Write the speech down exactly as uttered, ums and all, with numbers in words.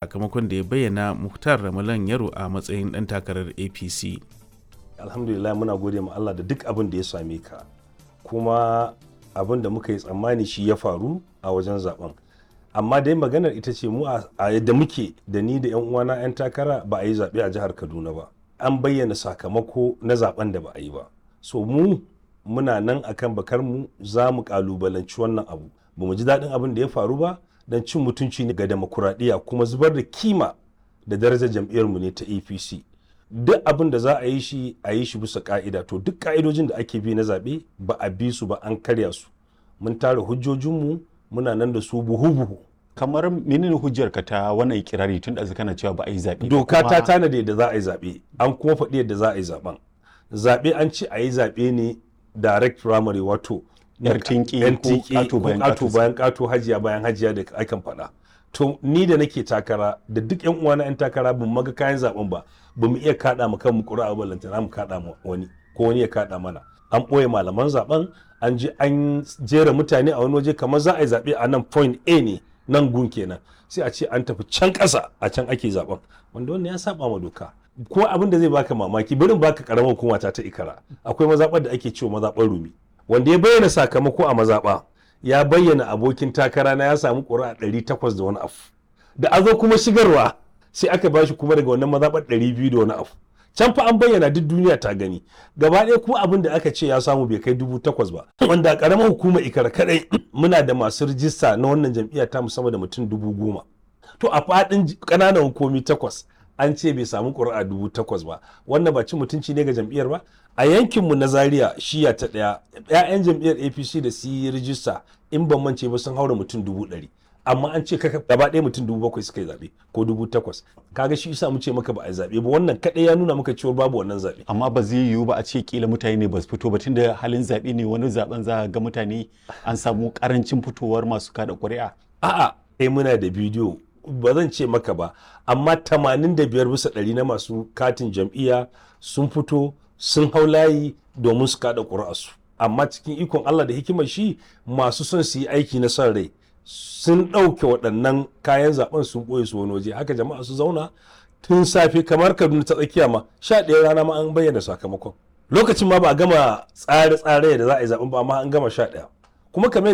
Sakamakon da ya bayyana Muktar Ramalan Yaro a matsayin ɗan takarar A P C. Alhamdulillah, muna gode ma Allah da duk abin da ya same ka, kuma abin da muka yi tsammani shi ya faru a wajen zaben. Amma dai maganar ita ce, mu a yadda muke da ni da yan uwana yan takara, ba a yi zaɓe a jihar Kaduna ba. An bayyana sakamako na zaben da ba a yi ba. So mu muna nan akan bakar mu, za mu kalubalanci wannan abu. Ba mu ji daɗin abin da ya faru ba, don cin mutunci ne ga demokuraɗiyya, kuma zubar da kima da darajar jam'iyyarmu ne ta A P C. Duk abin da za a yi shi, a yi shi bisa ka'ida. To, duk ka'idojin da ake bi na zaɓe ba a bi su ba, an karya su. Mun tara hujjojinmu, muna nan da su buhu-buhu. Kamar menene hujjar ka ta wannan ikirari, tun da kana cewa ba a yi zaɓe ba? Doka ta kuma- tanada yadda za a yi zaɓe, an kuma faɗi yadda za a yi zaɓen. Zaɓe an ce a yi zaɓe ne direct primary, wato Yar tinki yan ko tinki ƙato ko bayan ƙato ƙato. bayan ƙato, hajiya bayan hajiya da akan faɗa. To, ni da nake takara da duk yan uwana yan takara, bamu maga kayan zaben ba, bamu iya kaɗa mu kanmu ƙuri'a ba, lantana mu kaɗa mu wani ko wani ya kaɗa mana. An ɓoye malaman zaben, an je an jera mutane a wani waje, kamar za a yi zaɓe a nan point A ne, nan gun kenan, sai a ce an tafi can ƙasa, a can ake zaben, wanda wannan ya saba ma doka. Ko abin da zai baka mamaki, barin baka karamar hukuma ta ta Ikara, akwai mazaɓar da ake cewa mazaɓar Rumi. Wanda ya bayyana sakamako a mazaɓa ya bayyana abokin takara na ya samu ƙuri'a ɗari takwas da wani abu. Da a zo kuma shigarwa, sai aka bashi kuma daga wannan mazaɓar ɗari biyu da wani abu. Can fa an bayyana, duk duniya ta gani gaba ɗaya, kuma abin da aka ce ya samu bai kai dubu takwas ba, wanda a ƙaramar hukumar Ikara kaɗai muna da masu rijista na wannan jam'iyya ta musamman da mutum dubu goma. To, a faɗin ƙananan hukumi takwas an ce bai samu ƙuri'a dubu takwas ba. Wannan ba cin mutunci ne ga jam'iyyar ba? A yankinmu na Zaria, shiya ta ɗaya, 'ya'yan jam'iyyar A P C da su yi rijista, in ban mance ba, sun haura mutum dubu ɗari, amma an ce kaka gaba ɗaya mutum dubu bakwai suka yi zaɓe ko dubu takwas. Kaga shi isa mu ce maka ba a yi zaɓe ba. Wannan kaɗai ya nuna maka cewa babu wannan zaɓe. Amma ba zai yiwu ba a ce kila mutane ne ba su fito ba, tunda halin zaɓe ne, wani zaɓen za a ga mutane an samu ƙarancin fitowar masu kada ƙuri'a. A'a, kai, muna da bidiyo, ba zan ce maka ba, amma tamanin da biyar bisa ɗari na masu katin jam'iyya sun fito, sun hau layi domin su kada ƙuri'arsu. Amma cikin ikon Allah da hikimar shi, masu son su yi aiki na son rai sun ɗauke waɗannan kayan zaben, sun ɓoye su wani waje. Haka jama'a su zauna tun safe. Kamar Kaduna ta Tsakiya ma, sha ɗaya rana ma an bayyana sakamakon. Lokacin ma ba a gama tsare-tsare da za a yi zaben ba, amma an gama sha ɗaya. Kuma kamar